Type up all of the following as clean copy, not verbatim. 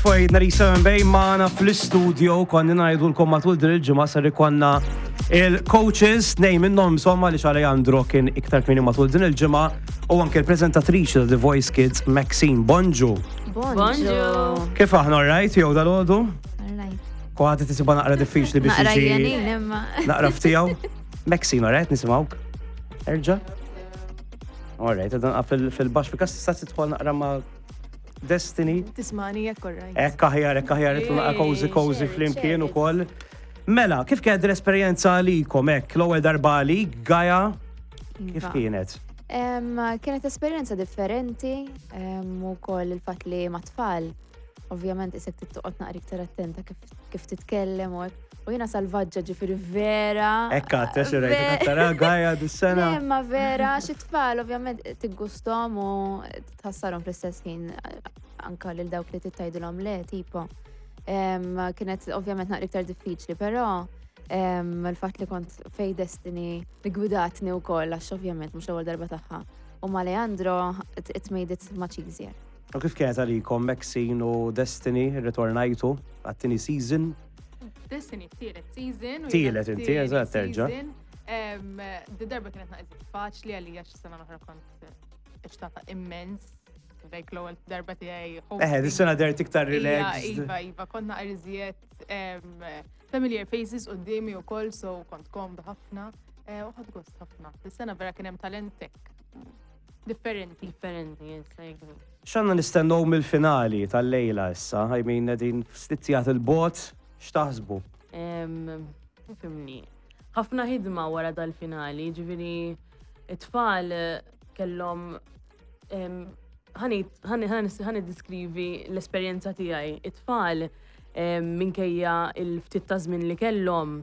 Fojt nhar 7 bej magħna fl-istudio konni ngħidulkom matul din il-ġimgħa ser ikonna il-coaches nej minnhom insomma li Alejandro kien iktar kmieni matul din il-ġimgħa u anke l-preżentatriċi ta' The Voice Kids Maxine. Bonġu. Bonġu. Kif aħna alright jew dal-għodu? Alright. Kwaħti tisiba naqra diffiċli biex Naqra iġi. jenin imma. Naqra ftijaw. Maxine, alright, nisimgħuk. Erġa'. Alright, dan fil-baxx fil-kas tista' tidħol naqra ma' Destiny. Tismani jekk alright. Ekk aħjar, ekk aħjar, itlu naqa cozy cozy flimkien ukoll. Mela, kif kienet l-esperjenza għalikom hekk l-ewwel darba għalik, Gaja, kif Iva. kienet? Kienet esperjenza differenti u koll il-fatt li ma' tfal, ovvjament isek tittoqgħod naqra iktar attenta kif, kif titkellem u hekk. U jiena salvaġġa ġifieri vera. Ekk għatte, xi rajt tara Gaja dis-sena. Le, ma vera, xi tfal ovvjament tiggustom u tħassarhom fl-istess ħin anka lil dawk li tittajdilhom le, tipo. Kienet ovvjament naqra iktar diffiċli, però il-fatt li kont fej Destiny li gwidatni wkoll għax ovvjament mhux l-ewwel darba tagħha. U ma' Leandro it, it made it much easier. U kif kienet għalikom Maxine u Destiny ritornajtu għat-tieni season? Destiny tielet season. u Tielet jiena inti, tieni eżatt, terġa'. season. Di darba kienet naqżit faċli għalija x'sena l-oħra kont eċtata immens. Like l-ewwel darba tiegħi. Eħe, dis-sena dert iktar Iva, relaxed. Iva, iva, kont naqra iżjed familiar faces quddiemi wkoll, so kont komda ħafna. Eh, U ħadd gost ħafna. Dis-sena vera kien hemm talentek differenti. Differenti, yes, I agree. X'għandna nistennew mill-finali tal-lejla issa? I mean, qegħdin f'stizzjat il-bot, x'taħsbu? Fimni. Ħafna ħidma wara dal-finali, ġifieri it-tfal kellhom ħani diskrivi l-esperjenza tiegħi. It-tfal minkejja il-ftit ta' żmien li kellhom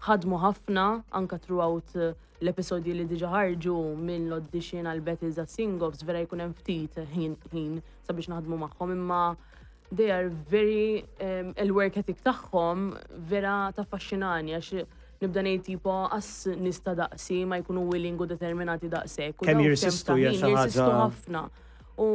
ħadmu ħafna anka throughout l-episodji li diġa ħarġu minn l-audition għal battles għal sing-offs vera jkun hemm ftit ħin ħin sabiex naħdmu magħhom imma they are very il-work ethic tagħhom vera taffaxxinani għax nibda ngħid tipo as nista daqsi ma jkunu willing u determinati daqshekk. U Kemm dawn jirsistu f'temp ta' hija ħin xi Jirsistu ħaġa- ħafna. U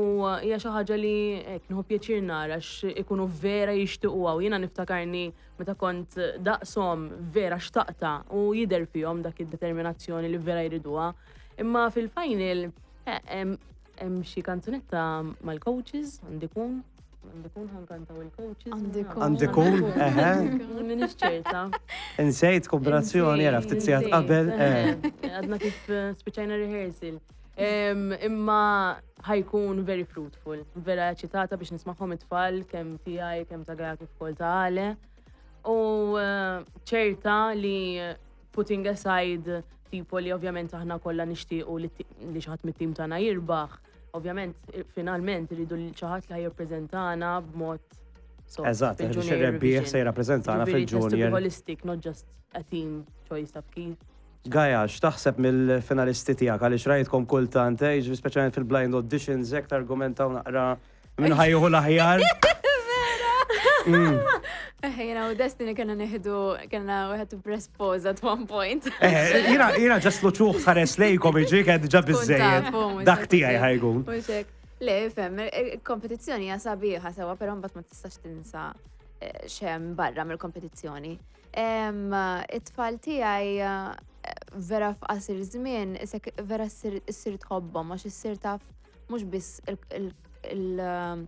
hija xi ħaġa li hekk nieħu pjaċir nara għax ikunu vera jixtiequha u jiena niftakarni meta kont daqshom vera xtaqta u jidher fihom dak id-determinazzjoni li vera jriduha. Imma fil-final eh, hemm hemm xi kanzunetta mal-coaches għandi kun għandi kun ħankantaw il-coaches. Għandi kun. Għandi kun, eħe. Minix ċerta. Insejt kombinazzjoni, era ftit sigħat Insejt, qabel. eħe. eh. Għadna kif eh, spiċċajna rehearsal. Em, Imma ħajkun very fruitful. Vera eċitata biex nismaħħom it-tfal, kemm tiegħi, kemm ta' Gaja kif ukoll ta' Ale. U eh, ċerta li putting aside tipo li ovvjament aħna kollha nixtiequ li ti- li xi ħadd mit-tim tagħna jirbaħ, ovvjament eh, finalment irridu li xi ħadd li ħajjippreżentana b'mod sod Eżatt, fil-Junior biex ir-rebbieħ Eurovision. se jirrappreżentana Ġifieri, it has to be fil-Junior. holistic, not just a team choice of kif. Gaja, x'taħseb mill-finalisti tiegħek għaliex rajtkom kultant, eh, jiġifieri speċjalment fil-blind auditions hekk targumentaw naqra minn ħajjuħu l-aħjar. Eh, Jena u Destiny kena neħdu, kena we had to press pause at one point. Eh, Jiena jiena ġast luċuħ tħares lejkom iġi kien diġà biżejjed. Tkun tafu, mhux Dak hekk. tiegħi ħajkun. Mhux hekk. Le, fem, il-kompetizzjoni hija sabiħa sewa, però mbagħad ma tistax tinsa eh, xem barra mill-kompetizzjoni. Em, It-tfal tiegħi eh, vera f'qasir żmien, isek vera ssir issir tħobbhom għax issir taf mhux biss il- il- il- eh,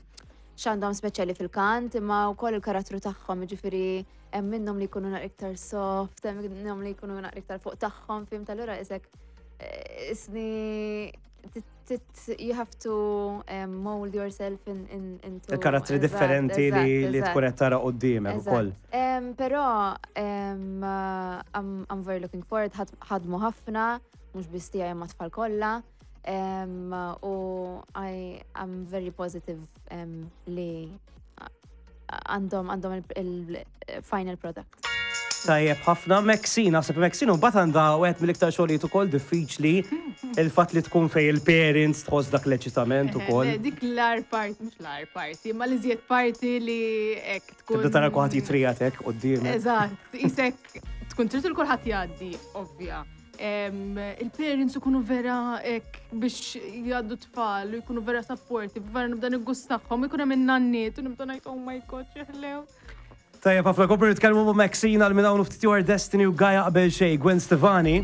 x'għandhom speċjali fil-kant, imma wkoll il-karattru tagħhom, jiġifieri hemm minnhom li jkunu naqra iktar soft, hemm minnhom li jkunu naqra iktar fuq tagħhom, fim tal-ura isek eh, isni tit- you have to um, mold yourself in, in, into Il-karattri Eżatt, differenti li eżatt, li eżatt. tkun qed tara quddiemek ukoll. Eżatt. Em, Però em, uh, I'm, I'm very looking forward, ħad- ħadmu ħafna, mhux biss tiegħi imma tfal kollha. Em, U I am very positive em, li għandhom għandhom il-final product. Tajjeb ħafna Maxine, naħseb Maxine mbagħad għandha wieħed mill-iktar xogħlijiet ukoll diffiċli il-fatt li tkun fej il-parents tħoss dak l-eċitament Eħe, ukoll. le, Dik l-ar parti, mux l-ar parti, ma li zjed parti li ek tkun. Tibda tara kulħadd jitrijat hekk quddiemek. Eżatt, isek tkun trid il kulħadd jgħaddi, ovvja. Il-parents ikunu vera hekk biex jgħaddu tfal u jkunu vera supportive, vera nibda niggustaħħom, ikun hemm in-nanniet u nibda ngħid oh my god x'ħlew. Tajjeb ħafna komplu nitkellmu ma' Maxine għal minn hawn u ftit ieħor Destiny u Gaia qabel xejn Gwen Stefani.